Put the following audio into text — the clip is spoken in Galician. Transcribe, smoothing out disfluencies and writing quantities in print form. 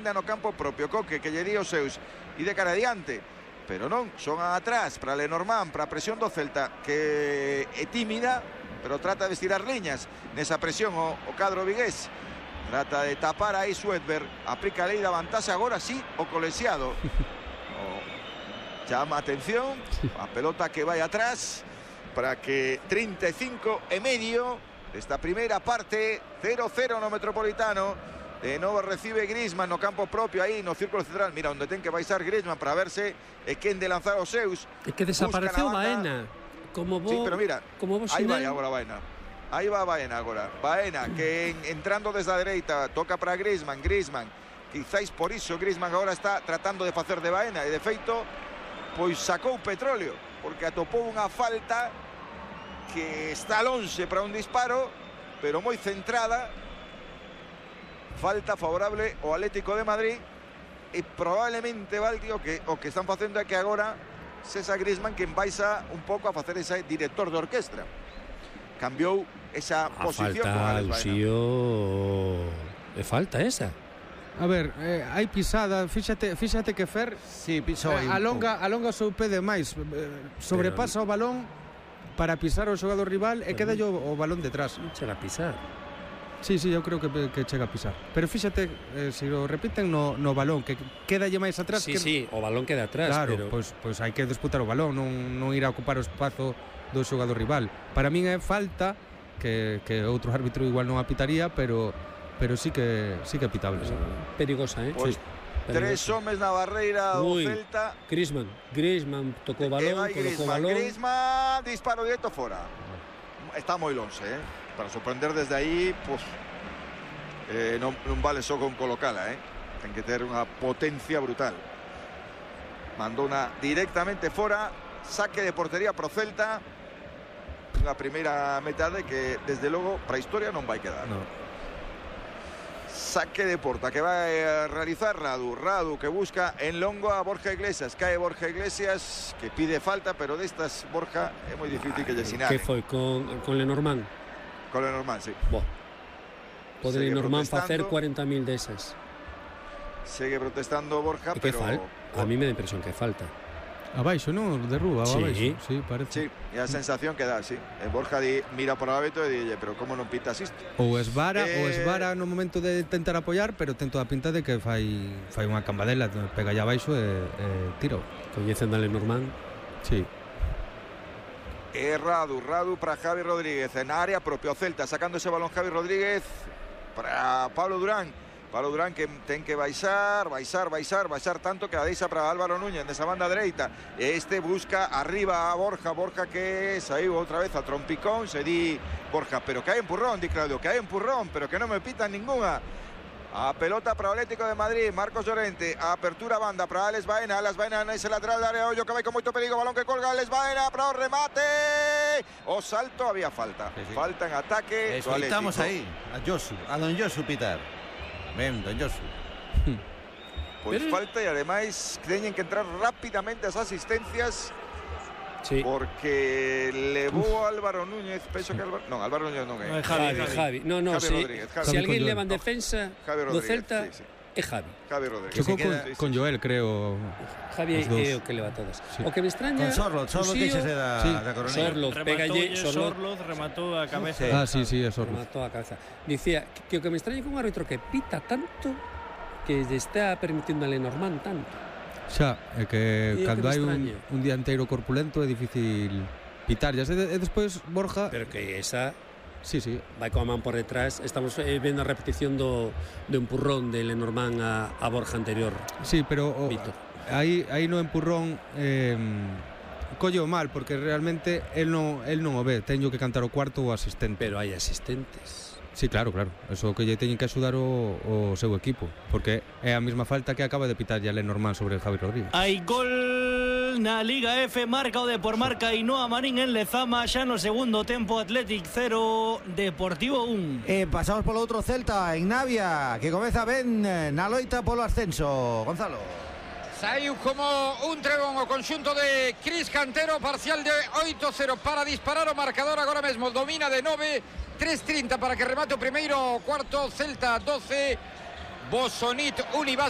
aínda no campo propio. Coque, que lle di os seus e de cara adiante, pero non, son atrás para Lenormand, para a presión do Celta, que é tímida, pero trata de estirar liñas nesa presión o cadro vigués. Trata de tapar aí Suedberg, aplica a lei da vantaxe agora sí o colexiado. Llama atención, a pelota que vai atrás para que 35 e medio desta primeira parte, 0-0 no Metropolitano. De novo recibe Griezmann no campo propio aí no círculo central. Mira onde ten que baixar Griezmann para verse quen de lanzar os seus. É que desapareceu Baena. Como vos, sí, pero mira, como vos aí vai agora Baena. Aí va Baena agora. Baena que entrando desde a dereita toca para Griezmann. Griezmann, quizáis por iso Griezmann agora está tratando de facer de Baena e de feito pois sacou petróleo porque atopou unha falta que está lonxe para un disparo, pero moi centrada. Falta favorable ao Atlético de Madrid e probablemente Valdi o que están facendo é que agora César Griezmann quen baixa un pouco a facer ese director de orquestra. Cambiou esa posición con Alex Baena. É falta esa. A ver, hai pisada, fíxate que Fer pisou aí alonga o seu pé demais, sobrepasa o balón para pisar o xogador rival e queda o balón detrás. Non chega a pisar. Sí, eu creo que chega a pisar. Pero fíxate, se o repiten no balón, que quedalle máis atrás. Sí, o balón queda atrás. Claro, pero... pois hai que disputar o balón, non ir a ocupar o espazo do xogador rival. Para min é falta que outro árbitro igual non apitaría, pero sí que é pitable. Perigosa, Pois, tres homes na barreira do Celta. Griezmann tocou o balón, Griezmann, disparo directo fora. Está moi longe, para sorprender desde aí, pois non vale só con colocala, ten que ter unha potencia brutal. Mandou directamente fora, saque de portería pro Celta. Unha primeira metade que desde logo para a historia non vai quedar. Saque de porta que va a realizar Radu que busca en longo a Borja Iglesias. Cae Borja Iglesias que pide falta, pero destas Borja é moi difícil que lle sinale. Que foi con Lenormand? Con Lenormand, sí. Pode Lenormand facer 40.000 desas. Segue protestando Borja, pero a mí me da impresión que falta. Abaixo, non? Derruba, abaixo. Sí, parece. Sí, é a sensación que dá, sí. Borja mira por abaixo e dille, pero como non pitas isto? Ou esvara no momento de tentar apoiar, pero ten toda a pinta de que fai unha cambadela, pega allá abaixo e tira. Coñecen a Lenormand? Sí. Radu para Javi Rodríguez en área propio Celta, sacando ese balón Javi Rodríguez para Pablo Durán que ten que baixar tanto que a deixa para Álvaro Núñez nesa banda dereita. Este busca arriba a Borja que saiu outra vez a trompicón, se di Borja, pero que hai empurrón, di Claudio, que hai empurrón, pero que non me pitan ninguna. A pelota para o Atlético de Madrid, Marcos Llorente, a apertura banda para Alex Baena nese lateral de área, ollo que vai con moito perigo, balón que colga Alex Baena para o remate. O salto había falta. Falta en ataque. Escoitamos aí a don Josu pitar. Ben, don Josu. Pois falta e ademais teñen que entrar rápidamente as asistencias. Sí. Porque levou Álvaro Núñez, penso que Álvaro Núñez non é. Javi. Se alguén leva en defensa do Celta, é Javi Rodríguez. Chocou con Joel, creo. Javi é o que leva todas. O que me extraña... Con Sorloz queixese da Coronilla. Sorloz rematou a cabeza. Sí, é Sorloz. Rematou a cabeza. Dicía que o que me extraña con un árbitro que pita tanto que lle está permitindo a Lenormand tanto. Xa, é que cando hai un dianteiro corpulento é difícil pitar. E despois Borja... Pero que esa... Sí. Vai coa man por detrás. Estamos vendo a repetición do empurrón de Lenormand a Borja anterior. Sí, pero aí no empurrón colle o mal, porque realmente el non o ve. Teño que cantar o cuarto o asistente. Pero hai asistentes. Sí, claro. Eso que lle teñen que axudar o seu equipo, porque é a mesma falta que acaba de pitar ya Lenormand sobre Javi Rodríguez. Hai gol na Liga F, marca o Depormarca Ainhoa Marín en Lezama, xa no segundo tempo. Athletic 0, Deportivo 1. Pasamos polo outro Celta en Navia, que comeza ben na loita polo ascenso. Gonzalo. Saiu como un trebón o conxunto de Cris Cantero, parcial de 8-0 para disparar o marcador agora mesmo, domina de 9, 3:30 para que remate o primeiro cuarto. Celta 12, Bosonit Unibas